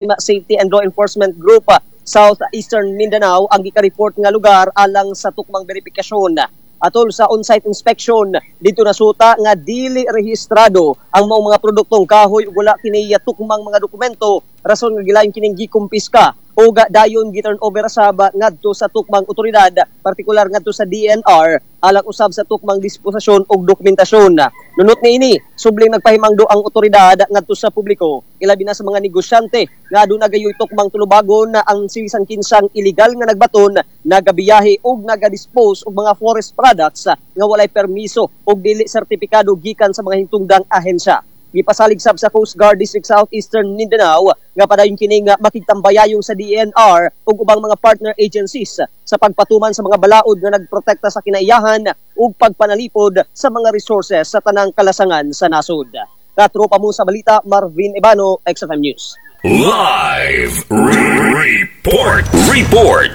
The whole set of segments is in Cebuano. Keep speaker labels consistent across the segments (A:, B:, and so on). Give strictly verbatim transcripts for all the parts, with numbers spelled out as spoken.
A: Safety and Law Enforcement Group ah, South Eastern Mindanao ang gika-report nga lugar alang sa tukmang verifikasyon. Atol sa on-site inspection dito nasuta nga dili rehistrado ang maong mga produktong kahoy ug wala kini tukmang mga dokumento, rason nga gilayon kining gikumpiska ug dayon gi-turn over sab ngadto sa tukmang otoridad, partikular ngadto sa D E N R, alang usab sa tukmang disposisyon ug dokumentasyon. Nunot niini, subling nagpahimangdo ang otoridad ngadto sa publiko, ilabi na sa mga negosyante, nga aduna gayoy tukmang tulubagon na ang sibisan kinsang illegal nga nagbaton, nagabiyahe ug nagadispose og mga forest products nga walay permiso ug dili sertipikado gikan sa mga hintungdang ahensya. Gipasalig sab sa Coast Guard District South Eastern Mindanao nga padayon kining makigtambayayong sa D E N R ug ubang mga partner agencies sa pagpatuman sa mga balaod nga nagprotekta sa kinaiyahan ug pagpanalipod sa mga resources sa tanang kalasangan sa nasod. Katropa mo sa balita, Marvin Ebano, X F M News.
B: Live Report. Report.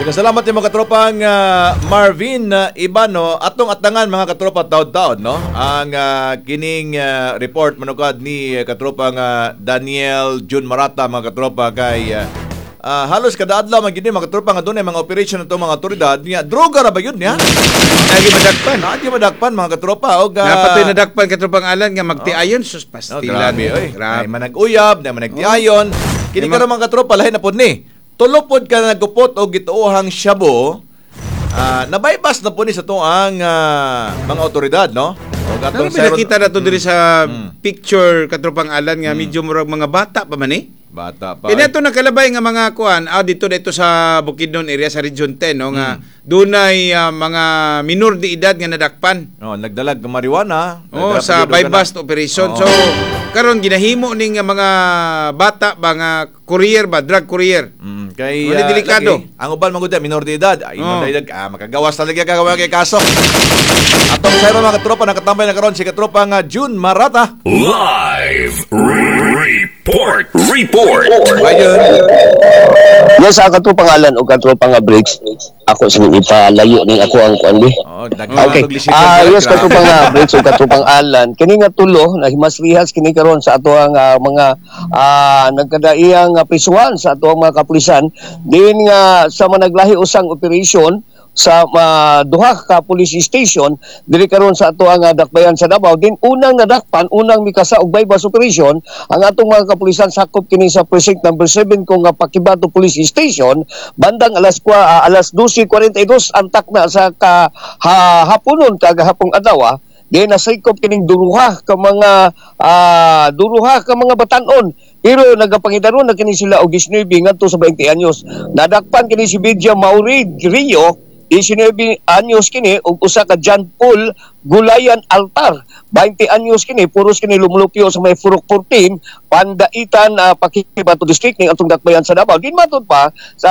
C: Daghang salamat yung mga katropang ah, Marvin uh, Ibano. Atong atangan, mga katropa, taod-taod, no? Ang ah, kining ah, report manukad ni uh, katropang ah, Daniel Jun Marata, mga katropa, kay ah, ah, halos kada adlaw man gid ni, mga katropa, nga dunay mga operation ato mga otoridad niya. Droga ra ba yun niya?
D: Lagi madakpan.
C: Naadi madakpan, mga katropa, og ah,
D: Napatoy nadakpan, katropang Alan, nga magtiayon sus
C: Oh,
D: pastilan.
C: Grabe, oy.
D: Grabe.
C: Ay manag-uyab, na managtiayon. Kini
D: May
C: karon, mga katropa, lahi na pod ni. Tulo pod ka nagupot og gituohang shabu. Ah, nabaybas na po ni sa tuang ah, mga otoridad, no? O
D: Pero
C: atong
D: may nakita na to diri sa picture, katropang Alan, nga medyo murag mga bata pa man eh.
C: Bata pa.
D: Kaya nato nakalabay nga mga kuan, ah, dito dito sa Bukidnon area sa Region ten, no, nga dunay ah, mga minor de edad nga nadakpan.
C: Oh, nagdalag ng marijuana.
D: Oh,
C: Nagdala pa
D: sa
C: gyud og
D: buy-bust
C: kana.
D: Operation.
C: Oo.
D: So karon ginahimo ning nga mga bata ba nga courier ba, drug courier.
C: Mm, kay
D: Wala
C: ah,
D: delikado.
C: lagi, ang uban man gud minor de edad. Ay, minor
D: Oh.
C: de edad, ah, makagawas talaga kagawa kay kaso. Atong sayro, mga katropa, nakatambay na karon si katropa nga June Marata.
B: Live Report. Report.
C: Ayun.
E: Yes, ang katropang Alan o katropang nga Briggs, ako sa ipalayo ning ako ang kuan bi.
C: Oh, daghan
E: Okay.
C: og lisensya
E: Ah,
C: dira,
E: yes,
C: grabe.
E: katropang nga Briggs o katropang Alan. Kini nga tulo na himasrihas kini karon sa atoang ah, mga ah, nagkadaiyang uh, prisuhan sa atoang mga kapulisan din nga sa managlahi usang operation sa uh, duha ka police station diri karon sa atoang uh, dakbayan sa Davao. Din unang nadakpan, unang mikasa og buy-bust operation ang atong mga kapulisan, sakop kini sa precinct number seven kung nga Paquibato Police Station, bandang alas kwa, ah, alas dose kuwarenta y dos ang takna sa ka, ha, haponon kagahapong adlaw. Di nasikop kining duruha ka mga ah, duruha ka mga batanon pero nagapangidaron na kini sila og nineteen ngadto sa twenty anyos. Nadakpan kini si Vidya Mauri Rio, nineteen anyos kini, ug usa ka John Paul Gulayan Altar, twenty anyos kini. Puros kini lumulupyo sa may Purok fourteen, Pandaitan, uh, Paquibato District ning atong dakbayan sa Davao. Din matud pa sa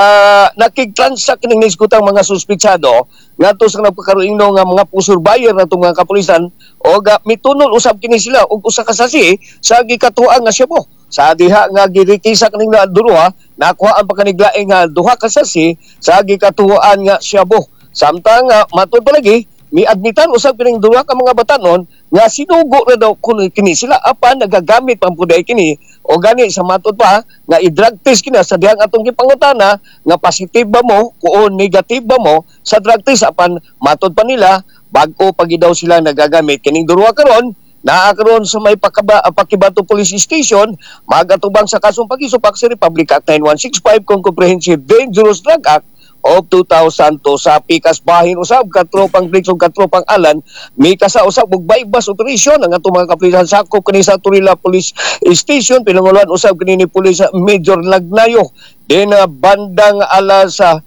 E: nakigtransact kining nisgutang mga suspitsado ngadto sa nagpakaroingno nga mga poseur buyer na itong mga kapulisan o ga, mitunol usab kini sila og usa ka sasi sa gikatuang nga shabu. Sa diha nga girikisa kining na duruha, nakuha ang pagkaniglaing nga duha ka sasi sa gikatuan nga shabu. Samtang uh, matud pa lagi, miadmitan usab kining duha ka mga batanon nga sinugo na daw kuno kini sila apan nagagamit pa pud kini. O gani sa matud pa nga i-drug test kini sa dihang atong gipangutana nga positive ba mo o negative ba mo sa drug test, apan matud pa nila bag-o pagi daw sila nagagamit. Kining duha karon naa karon sa may Pakaba, Paquibato Police Station, magatubang sa kasong pagisupak sa Republic Act nine one six five kung Comprehensive Dangerous Drug Act of two thousand two. Sa pikas bahin usab, katropang Briggs ug katropang Alan, mikasa usab og buy-bust operation ang atong mga kapulisan, sakop kini sa Turila Police Station, pinangulohan usab kini ni Police Major Lagnayo. Din uh, bandang alas uh,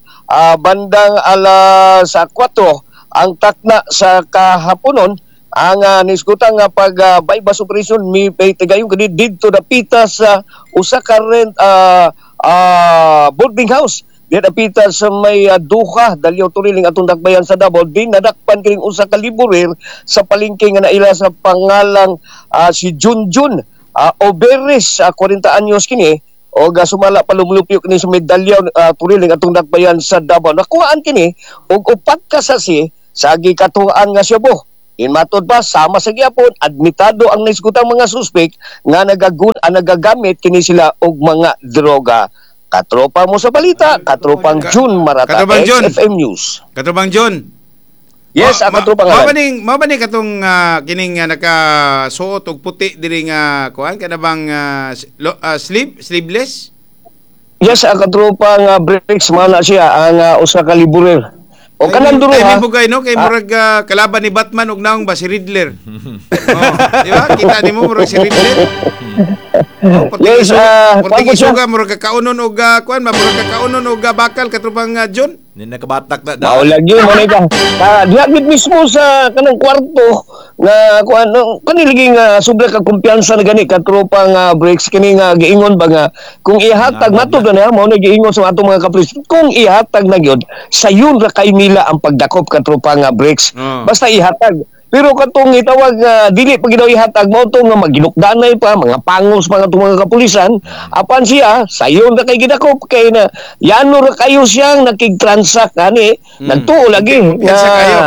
E: bandang alas uh, kuwatro ang takna sa kahaponon ang uh, nisgutang nga pag uh, buy-bust operation mi tigayon kini didto dapita sa usa ka rent uh, uh, boarding house di dapita sa may uh, Duha, Dalyaw, Turiling atong dakbayan sa Davao. Din nadakpan kining usa ka laborer sa palengke nga naila sa pangalang uh, si Junjun uh, Oberes, uh, forty anyos kini o uh, sumala pa lumulupyo kini sa may Dalyaw, uh, Turiling atong dakbayan sa Davao. Nakuhaan kini og upat ka sasi sa gikatuan nga shabu. Inmatod pa sama sa gyapon admitado ang naisgutang mga suspek nga nagagun ah, nagagamit kini sila og mga droga. Katropa mo sa balita, katropang
D: Ka-
E: June Marata,
D: Katropang June.
E: X F M News.
D: Katropang John.
E: Yes,
D: Ma-
E: ang katropang
D: ma-
E: Alan.
D: Mao ba ning mao ba ni katong ah, kining uh, nakasuot og puti diri nga kuan kana bang ah, s- lo- ah, sleeve sleeveless?
E: Yes, ang katropang uh, Briggs, mana siya ang uh, usa ka liburer. O kanang duro
D: Ay,
E: ha.
D: bugay no kay
E: Ah.
D: murag ah, kalaban ni Batman og naong ba si Riddler. Oh, di ba? Kita nimo murag si Riddler. Oh, perting
E: Yes,
D: isuga,
E: ah,
D: perting
E: kuwan po siya.
D: isuga murag kakaunon og ah, kuan ba murag kakaunon og ah, bakal katropang ah, John.
C: Ni nakabatak na.
E: Mao lagi mo na ka. Ah, diha gid mismo sa kanang kwarto nga kuan no, kani lagi nga sobra ka kumpiyansa na gani katropang uh, Briggs kini nga giingon ba nga kung ihatag
C: Nga,
E: matud na mao na giingon sa atong mga kapulis kung ihatag na gyud sayon ra kay nila ang pagdakop, katropang uh, Briggs.
D: Oh.
E: Basta ihatag. Pero katong itawag nga dili pa gid daw ihatag mao to nga maginukdanay pa mga pangos mga itong mga kapulisan apan siya sayon ra kay gidakop kay na yano ra kayo siyang nakig-transact ani
D: Mm.
E: nagtuo lagi
D: Kumpiyansa kayo.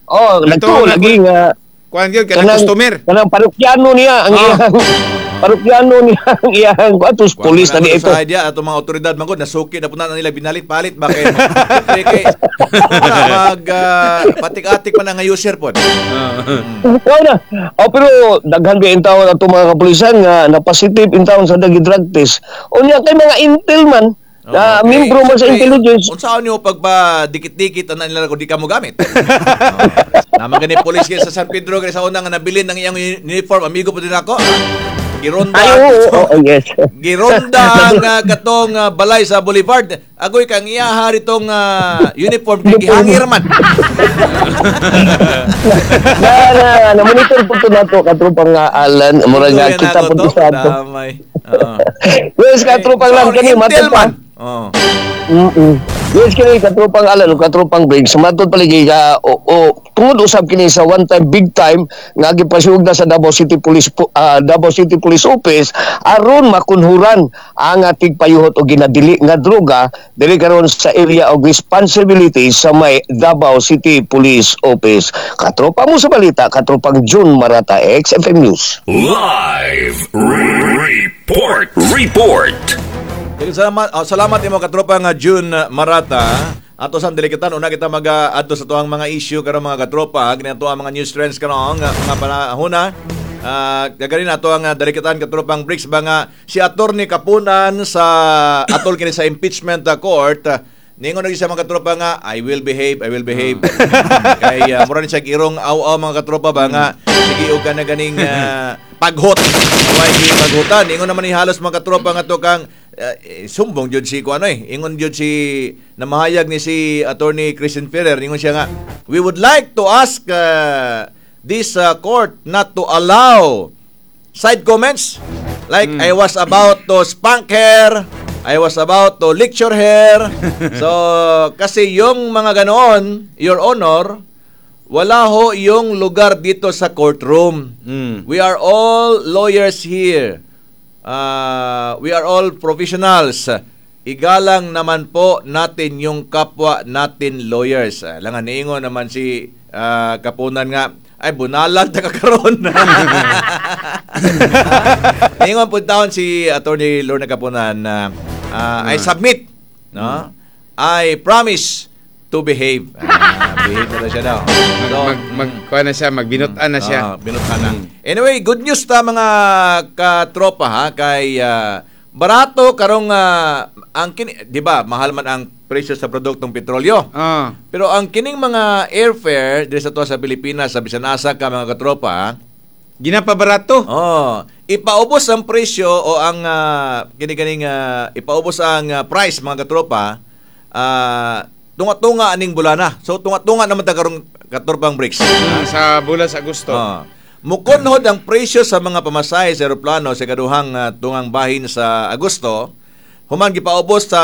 E: Oh,
D: Nagtuo
E: nagtuo
D: na-
E: lagi nga
D: Kuan gyud kanang customer.
E: kanang parokyano niya ang
D: Oh.
E: iyang parokyano niya ang iyang atos pulis na di ito.
C: Sa idea atong mga otoridad man gud nasuki na po na nila binalit-palit ba kay kay kay mag ah, patik-atik man ang user pod.
E: Wala na. Oh, pero daghan kay intawon ato mga kapulisan nga na positive intawon sa dagi drug test. Unya kay mga intel man na
C: Okay.
E: membro man sa
C: Siyempre,
E: intelligence.
C: unsaon niyo pagba dikit-dikit ana nila kung di ka mo gamit. Oh. Naman gani pulis kay sa San Pedro kay sa una nga nabilin ng iyang uniform, amigo po din ako. Gironda.
E: Ay, oo, oo, oo, yes.
C: Gironda ang ah, katong ah, balay sa Boulevard. Agoy kang iyaha ritong ah, uniform kay gihangir man.
E: na, na, na monitor po to nato katropang nga Alan, mura nga
C: Ito yan
E: kita
C: ako
E: po
C: to.
E: to sa ato.
C: Damay. Oo.
E: Yes, katropang lang kani
C: Intel
E: matod pa.
C: man. Oo.
E: Mm-mm. Yes, kini katropang Alan ug katropang Briggs, matod paligi ka o, o tungod usab kini sa one time big time nga gipasugda na sa Davao City Police po- ah, Davao City Police Office aron makunhuran ang ah, tigpayuhot og ginadili nga droga diri karon sa area of responsibility sa may Davao City Police Office. Katropa mo sa balita, katropang June Marata, X F M News.
B: Live Report. Report.
C: Daghang salamat, oh, salamat imo katropa nga June Marata. Ato sa dilikitan una kita mag-adto sa tuang mga issue karon, mga katropa, kini ato ang mga news trends karon nga mga panahona. Ah, gagarin ato ang ah, dalikitan, katropang Bricks, ba nga si Attorney Kapunan sa atol kini sa impeachment ah, court, ah, ningon na siya, mga katropa, nga "I will behave, I will behave." Kay uh, mura ni siya irong aw-aw, mga katropa, ba nga sige og ka na ganing ah, paghot. Way gi paghutan. Ingon naman ni halos, mga katropa, nga to kang eh, sumbong jud si kuano eh. Ingon jud si namahayag ni si Attorney Christian Ferrer, ingon siya nga we would like to ask uh, this uh, court not to allow side comments like "I was about to spank her, I was about to lecture her." So kasi yung mga ganoon, Your Honor, wala ho yung lugar dito sa courtroom.
D: Mm.
C: We are all lawyers here. Uh, we are all professionals. Igalang naman po natin yung kapwa natin lawyers. Uh, langan niingon naman si ah, Kapunan nga, "Ay, bunalan ta ka karon." Niingon po taon si Attorney Lorna Kapunan na ah, "I submit, no? I promise to behave." Ah, behave na daw siya daw.
D: Mag,
C: So,
D: mag, mag, kuha na siya, magbinutan na siya.
C: Ah, binutan na. Anyway, good news ta, mga katropa, ha, kay ah, barato karong ah, ang kini, 'di ba? Mahal man ang presyo sa produktong petrolyo.
D: Ah.
C: Pero ang kining mga airfare diri sa tuwa sa Pilipinas sa bisan asa ka, mga katropa, ha,
D: Ginapabarato.
C: oh, ipaubos ang presyo o ang uh, kini kaning ah, ipaubos ang ah, price, mga katropa, ah, tunga-tunga aning bulana. So tunga-tunga naman ta karong, katropang Bricks.
D: Ah, sa bulan sa Agosto.
C: Ah. Mukunhod ang presyo sa mga pamasahe sa eroplano sa kaduhang ah, tungang bahin sa Agosto. Human gipaubos sa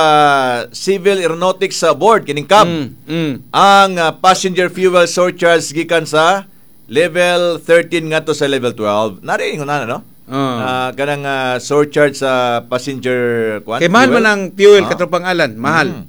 C: Civil Aeronautics Board kining C A B
D: Mm, mm.
C: ang ah, passenger fuel surcharge gikan sa level thirteen ngadto sa level twelve. Nari ingon na, no?
D: Ah.
C: Ah, kanang ah, surcharge sa passenger kuan.
D: Kay mahal
C: fuel.
D: man ang fuel,
C: Ah.
D: katropang Alan, mahal.
C: Mm.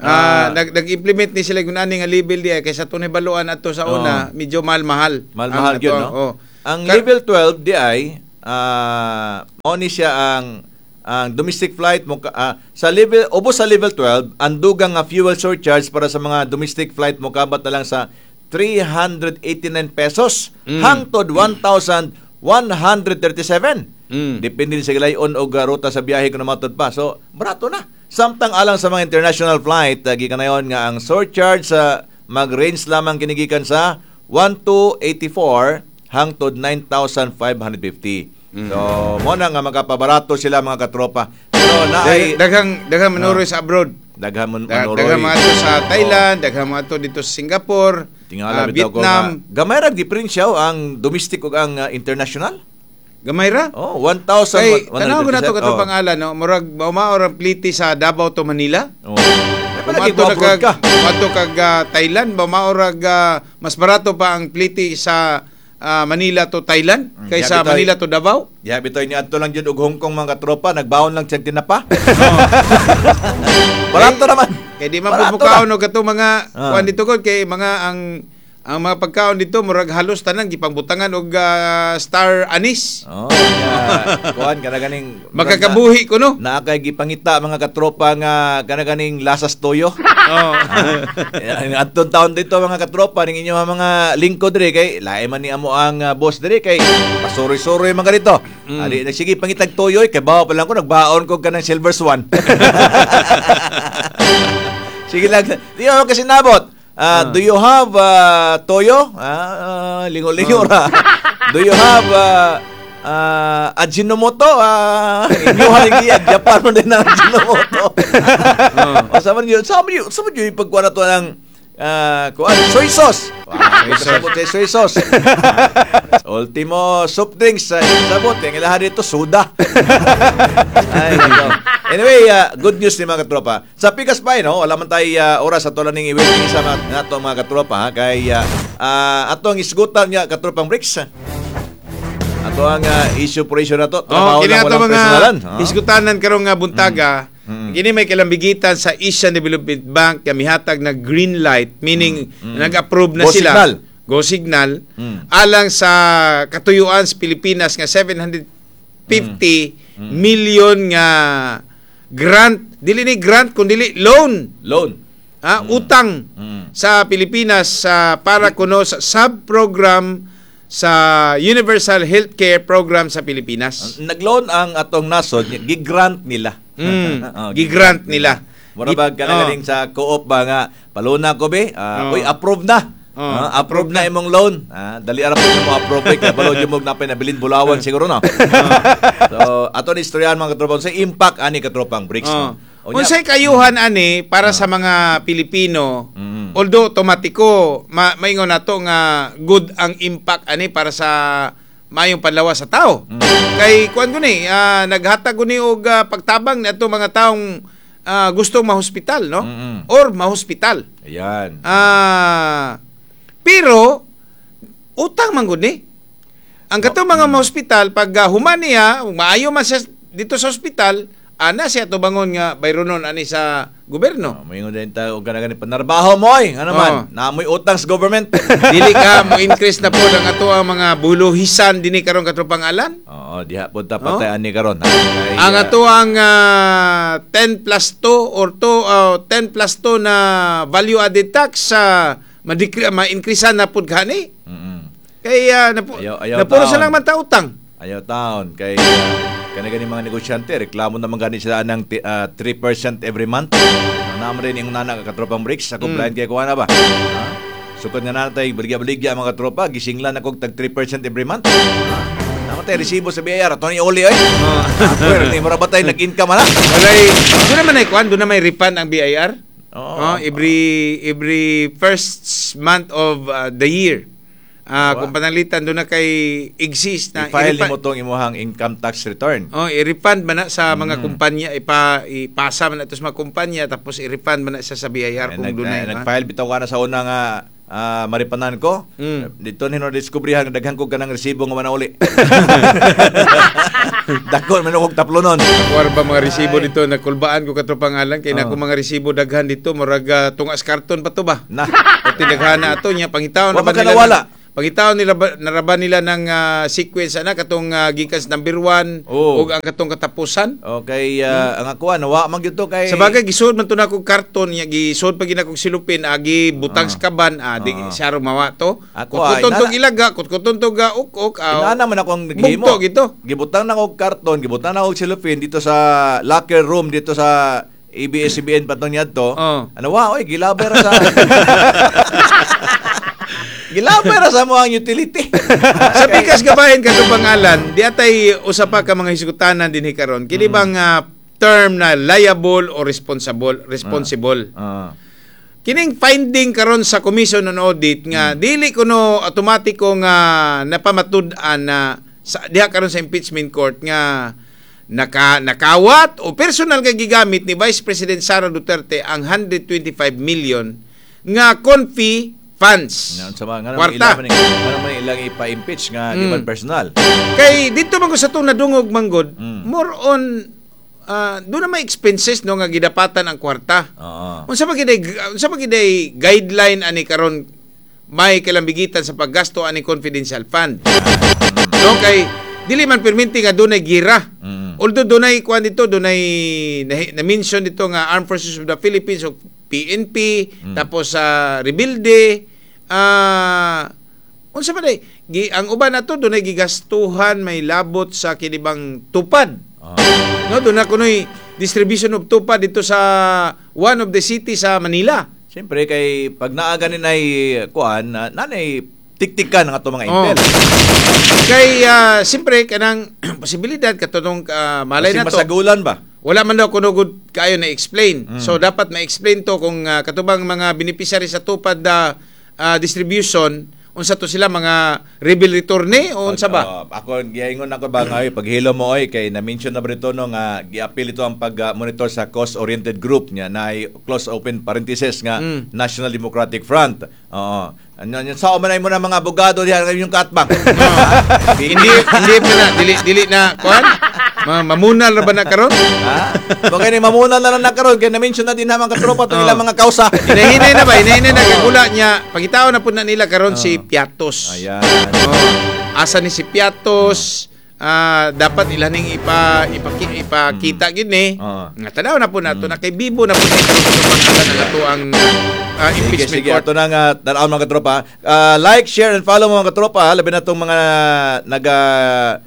D: Ah, nag nag-implement ni sila kung ani nga level di ay kaysa tunay baluan ato sa una, medyo mahal-mahal.
C: Mahal-mahal
D: Ang
C: yun,
D: ato-
C: no?
D: oh.
C: Ang
D: Ka-
C: level twelve di ay ah mao ni siya ang ang domestic flight mo ah, sa level ubos sa level twelve, ang dugang nga fuel surcharge para sa mga domestic flight mo kabat na lang sa three hundred eighty-nine pesos
D: Mm.
C: hangtod one thousand one hundred thirty-seven.
D: Mm.
C: Depende sa gilayon og uh, ruta sa biyahe kung namatod pa. So, barato na. Samtang alang sa mga international flight, uh, gikanayon nga ang surcharge sa mag-range lamang kinigikan sa one thousand two hundred eighty-four hangtod nine thousand five hundred fifty.
D: Mm.
C: So, mo na nga makapabarato sila, mga katropa. Pero na ay
D: Dag- Daghang daghang manuroy sa abroad.
C: Daghan man
D: Da-
C: manuroy.
D: Daghang mga to sa Thailand, daghang mga to dito sa Singapore,
C: Tingala
D: ah,
C: bitaw ko
D: Vietnam.
C: nga, gamay ra diferensya oh, ang domestic ug ang uh, international.
D: Gamay ra.
C: Oh, one thousand one hundred thirty-seven.
D: Kay tanaw ko na to
C: Oh.
D: katong pangalan, no, murag maumao ra pliti sa Davao to Manila.
C: Oh. Ay, palagi
D: Umato na
C: mo abroad
D: kag
C: ka.
D: Umato kag ah, Thailand, maumao ra ah, mas barato pa ang pliti sa ah, Manila to Thailand
C: Mm,
D: kaysa
C: yabi tayo.
D: Manila to Davao.
C: Ya bitoy ni adto lang jud og Hong Kong, mga katropa, nagbaon lang siyang tinapa. Barato naman.
D: Kay di man
C: Barato
D: po mukaon
C: na.
D: og katong mga
C: Ah.
D: kuan dito kod, kay mga ang ang mga pagkaon dito murag halos tanan gipangbutangan og ah, star anise.
C: Oh, ya. Kuan kana ganing
D: Makakabuhi kuno.
C: Naa kay gipangita, mga katropa, nga kana ganing lasas toyo.
D: Oh.
C: Ah, adtong taon dito, mga katropa, ning inyo mga lingkod diri, kay lain man ni amo ang ah, boss diri, kay pasuroy-suroy mga dito.
D: Mm.
C: Ali sige pangitag toyo, kay bawa pa lang ko nagbaon ko kanang Silver Swan. Sige lang. Di ako kasi nabot. Ah, do you have ah, toyo? Ah, ah, lingo-lingo ra. Do you have ah, ah, Ajinomoto? Ah, inyo haligi Japan mo din ang Ajinomoto. O sa man yun, sa man yun, sa man yun ipagkuha na to ng ah, kuan, soy sauce. Wow,
D: Soy sauce.
C: sabot sa soy sauce. Ultimo soft drinks sa sabot, ang ilaha dito soda. Ay, nako. Anyway, ah, good news ni mga katropa. Sa Pikas pa, no? Wala man tayo ah, oras sa tulan ng i-waiting sa mga, nato, mga katropa, ha? Kay ah, ah, ato ang isgutan niya, katropang Bricks. Ato ang ah, issue for issue na to.
D: Oh,
C: Trabaho
D: kini
C: lang,
D: ato
C: walang
D: mga
C: personalan. Oh.
D: isgutanan karong nga buntaga.
C: Mm.
D: Kini may kalambigitan sa Asian Development Bank nga mihatag na green light, meaning nag-approve na
C: Mm. Go
D: sila.
C: signal.
D: Go signal
C: Mm.
D: alang sa katuyuan sa Pilipinas nga seven hundred fifty
C: Mm.
D: million nga grant, dili ni grant kun dili loan.
C: Loan.
D: Ha, utang
C: Mm.
D: sa Pilipinas sa para kuno sa sub-program sa Universal Healthcare Program sa Pilipinas.
C: Nagloan ang atong nasod, gigrant nila.
D: Mm,
C: Oh,
D: gigrant nila.
C: Mura ba
D: Gi-
C: kana
D: oh.
C: galing sa co-op ba nga paluna ko be? Ah,
D: Oh.
C: uy, approve na.
D: Oh,
C: Ah, approve na imong loan. Ah, dali ara po mo approve kay kabalo jud mo napay nabilin bulawan siguro, no. So, ato ni istoryahan, mga katropa, sa impact ani, katropang Bricks,
D: Oh.
C: no. Unya-
D: Unsay kayuhan ani para sa mga Pilipino?
C: Mm.
D: Although automatiko ma maingon nato nga good ang impact ani para sa maayong panlawas sa tao.
C: Mm.
D: Kay kuan ko ni, ah, naghatag ko ni og ah, pagtabang nato mga taong ah, gustong mahospital, no?
C: Mm-mm.
D: Or mahospital.
C: Ayan.
D: Ah, pero utang man gud ni. Ang katong mga
C: Mm.
D: mahospital pag ah, human niya, maayo man siya dito sa ospital, ana siya tubangon nga bayronon ani sa gobyerno.
C: Oh, moingon din ta og kana gani panarbaho mo oy. Ano man?
D: Oh.
C: Naamoy utang sa government.
D: Dili ka mo increase na po ang ato ang mga buluhisan dinhi karon, katropang Alan.
C: Oo, diha po ta patay ani karon, ha. Kay,
D: Ang
C: ah,
D: ato ang ah, ten plus two or two, ah, ten plus two na value added tax sa uh, ma-increasean na pud gani.
C: mm-mm.
D: Kay uh, napu-
C: Ayaw- ayaw
D: napuro
C: taon.
D: sa lang man ta utang.
C: Ayaw taon kay uh, kana gani mga negosyante reklamo naman gani sila ng ti- ah, three percent every month. Naman rin yung nana, katropang Bricks sa compliant kay kuha na ba? Ha? Sukad nga natay baligya-baligya, mga katropa, gisinglan ako tag three percent every month. Ha? Naman tayo resibo sa B I R ato ni Oli oy. Pero ni mura ba tayo nag-income na?
D: Walay, doon naman ay kuan, doon na may refund ang B I R.
C: Oo.
D: Oh, every every first month of uh, the year. Ah,
C: Diba?
D: kung pananglitan doon na kay exist na
C: I-file
D: i-refund-
C: nimo tong imuhang income tax return.
D: Oh, i-refund man na sa mga
C: Mm.
D: kumpanya, ipa ipasa man na ito sa mga kumpanya tapos i-refund man na siya sa B I R
C: Eh,
D: kung
C: nag,
D: doon
C: eh,
D: na
C: nag-file bitaw ka na sa una nga Ah, maripanan ko.
D: Mm.
C: Dito ni no diskubrihan nga daghan ko kanang resibo nga manauli. Dako man og taplonon.
D: War ba mga resibo dito nakulbaan ko katropang Alan kay
C: Oh.
D: nako mga resibo daghan dito murag ah, tungas karton pa to ba.
C: Na.
D: Pati daghan na ato niya pangitaon
C: Wa
D: na ba
C: man ka
D: nila
C: nawala?
D: ng- Pangitaon nila ba, naraba nila ng ah, sequence ana katong uh, gikan sa number one
C: Oh.
D: ug ang katong katapusan.
C: Okay, ah, ang ako nawa man gyud to kay
D: Sa bagay gisuod man to na akong karton niya gisuod pa gid akong silupin agi butang sa kaban ah, di
C: Ah.
D: siya mawa to.
C: Ako, ay,
D: Kutkuton tong
C: nana-
D: ilaga, kutkuton tong ga uk-uk. ah,
C: Inaana man ako ang naghimo.
D: Bugto gito.
C: Gibutang na og karton, gibutang na og cellophane dito sa locker room dito sa A B S-C B N patong niadto.
D: Oh.
C: Ano wa oy, gilabay ra sa Gilabay ra sa mo ang utility.
D: Sa pikas gabahin kato pangalan, di atay usa pa ka mga hisgutanan dinhi karon. Kini
C: Mm.
D: bang ah, term na liable or responsible, responsible.
C: Ah.
D: Kining finding karon sa Commission on Audit nga
C: Mm.
D: dili kuno automatiko nga napamatud-an na sa diha karon sa impeachment court nga naka nakawat o personal nga gigamit ni Vice President Sara Duterte ang one hundred twenty-five million nga confi funds.
C: Nga unsa ba nga naman
D: Kwarta.
C: ilang man nga naman ilang ipa-impeach nga di
D: Mm.
C: man personal.
D: Kay dito man ko sa itong nadungog manggod,
C: Mm.
D: more on ah, doon na may expenses no nga gidapatan ang kwarta.
C: Oo.
D: Unsa pa giday unsa pa giday guideline ani karon may kalambigitan sa paggasto ani confidential fund? No kay dili man perminti nga dunay gira.
C: Mm.
D: Although dunay kuan dito, dunay na, mention dito nga Armed Forces of the Philippines o P N P,
C: Mm.
D: tapos sa Rebelde, ah unsa man day gi, ang uban nato dunay gigastuhan may labot sa kinibang tupad.
C: Oo.
D: No, doon na kunoy distribution of tupad dito sa one of the city sa Manila.
C: Siyempre kay pag naa ganin ay kuan, na- nanay tiktikan ang ato mga
D: Oh.
C: intel.
D: Kay ah, siyempre kanang posibilidad katong ah, malay
C: Kasi
D: na to.
C: masagulan ba?
D: Wala man daw kuno gud kaayo na explain.
C: Mm.
D: So dapat ma-explain to kung ah, katubang mga beneficiary sa tupad ah, ah, distribution unsa to sila, mga rebel returne o unsa ba?
C: Oh, ako giingon ako ba nga oy, paghilo mo oy kay na-mention na ba rito no nga giapil ito ang pag-monitor sa cause-oriented group niya na ay close open parenthesis nga
D: Mm.
C: National Democratic Front. Oo. Ano ano sa man ay mo na mga abogado diha yung katbang.
D: Hindi hindi pa na dili dili na kuan? Ma, mamunal ra ba na karon?
C: Ha? Bagay ni mamuna na lang na karon kay na-mention na din na mga katropa itong
D: Oh.
C: ilang mga kausa.
D: Hinahinay na ba? Hinahinay na kay gula niya. Pangitaon na po na nila karon si Piatos.
C: Ayan.
D: Oh, asa ni si Piatos? Ah, dapat ilaning ipa ipaki, ipakita gid ni.
C: Oo.
D: Nga tanaw na po nato na kay bibo na po ni karon sa pangalan ng ato ang ah,
C: Sige,
D: impeachment
C: sige.
D: court.
C: Ato na nga, tanaw mga katropa. Ah, like, share, and follow mga katropa. Labi na itong mga naga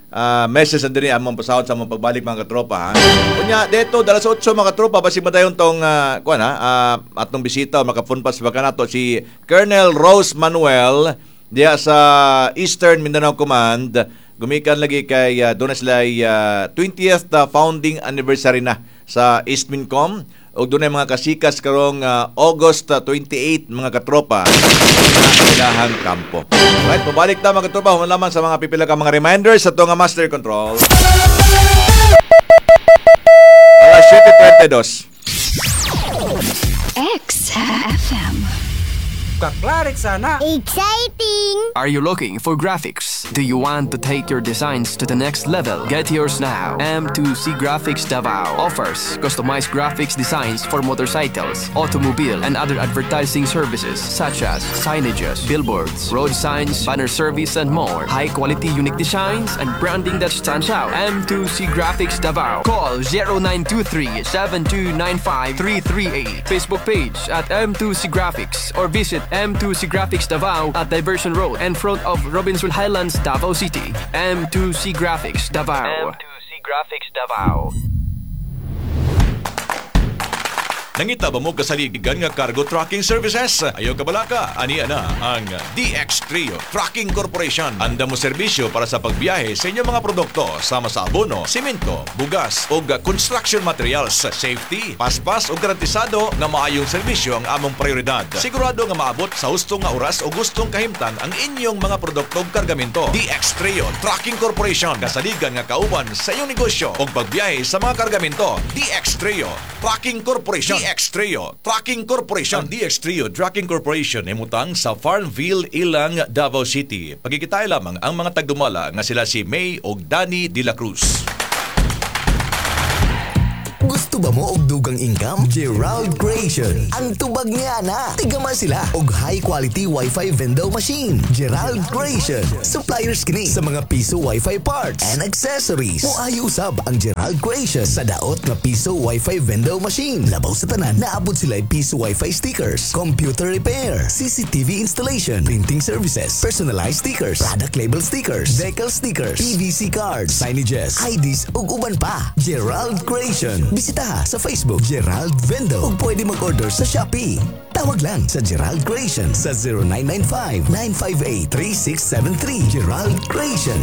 C: ah, message na din among pasahod sa among pagbalik mga katropa. Ha? Unya, dito, dalas otso mga katropa, basig madayon tong, uh, kuan, ha, ah, atong bisita, maka-phone pass baka nato si Colonel Rose Manuel diya sa Eastern Mindanao Command. Gumikan lagi kay uh, doon na sila ay, ah, twentieth ah, founding anniversary na sa Eastmincom ug dunay mga kasikas karong ah, August ah, twenty-eight mga katropa na ilahang kampo. Right, pabalik ta mga katropa human lamang sa mga pipila ka mga reminders sa nga Master Control. Alas siyete trentaydos.
F: X F M.
G: Kaklarik sana.
H: Exciting!
I: Are you looking for graphics? Do you want to take your designs to the next level? Get yours now. M two C Graphics Davao offers customized graphics designs for motorcycles, automobile, and other advertising services such as signages, billboards, road signs, banner service, and more. High quality, unique designs and branding that stands out. M two C Graphics Davao. Call zero nine two three seven two nine five three three eight. Facebook page at M two C Graphics or visit M two C Graphics Davao at Diversion Road in front of Robinson Highlands, Davao City. M two C Graphics Davao. M two C Graphics Davao.
C: Nangita ba mo kasaligan nga cargo trucking services? Ayaw kabalaka, aniya na ang D X Trio Trucking Corporation. Anda mo serbisyo para sa pagbiyahe sa inyong mga produkto sama sa abono, simento, bugas o construction materials. Safety, paspas o garantisado nga maayong serbisyo ang among prioridad. Sigurado nga maabot sa husto nga oras o gustong kahimtang ang inyong mga produkto ug kargamento. D X Trio Trucking Corporation. Kasaligan nga kauban sa inyong negosyo o pagbiyahe sa mga kargamento. D X Trio Trucking Corporation.
F: D X Trio Trucking Corporation.
C: Ang D X Trio Trucking Corporation imutang sa Farmville, Ilang, Davao City. Pagkikitay lamang ang mga tagdumala nga sila si May og Danny De La Cruz.
H: Gusto ba mo og dugang income? Gerald Creation. Ang tubag niya na. Tigama sila og high quality Wi-Fi vendor machine. Gerald Creation. Suppliers kini sa mga piso Wi-Fi parts and accessories. Moayo usab ang Gerald Creation sa daot nga piso Wi-Fi vendor machine. Labaw sa tanan, naabot sila piso Wi-Fi stickers, computer repair, C C T V installation, printing services, personalized stickers, product label stickers, decal stickers, P V C cards, signages, I Ds ug uban pa. Gerald Creation. Bisita sa Facebook Gerald Vendo ug pwede mag-order sa Shopee. Tawag lang sa Gerald Creation sa zero nine nine five, nine five eight, three six seven three. Gerald Creation.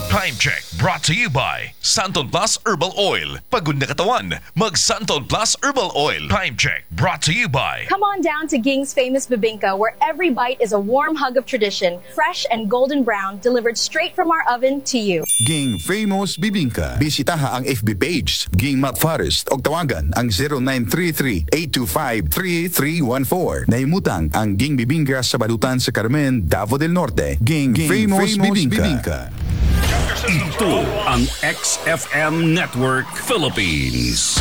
B: Time Check brought to you by Santon Plus Herbal Oil. Pagod na katawan, mag Santon Plus Herbal Oil. Time Check brought to you by
J: Come on down to Ging's Famous Bibingka, where every bite is a warm hug of tradition, fresh and golden brown, delivered straight from our oven to you.
K: Ging Famous Bibingka. Bisitaha ang F B page Ging Matt Forest o tawagan ang zero nine three three, eight two five, three three one four. Nahimutang ang Ging Bibingka sa balutan sa Carmen, Davao del Norte. Ging, Famous, Famous Bibingka. Bibingka.
B: Ito ang X F M Network Philippines.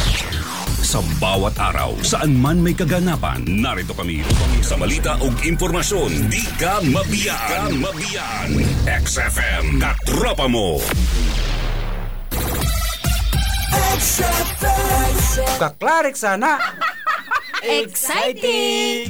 B: Sa bawat araw, saan man may kaganapan, narito kami upang sa balita o impormasyon, di ka mabiyaan. Ka mabiyaan. X F M, katropa mo.
G: Kaklarik sana.
L: Exciting!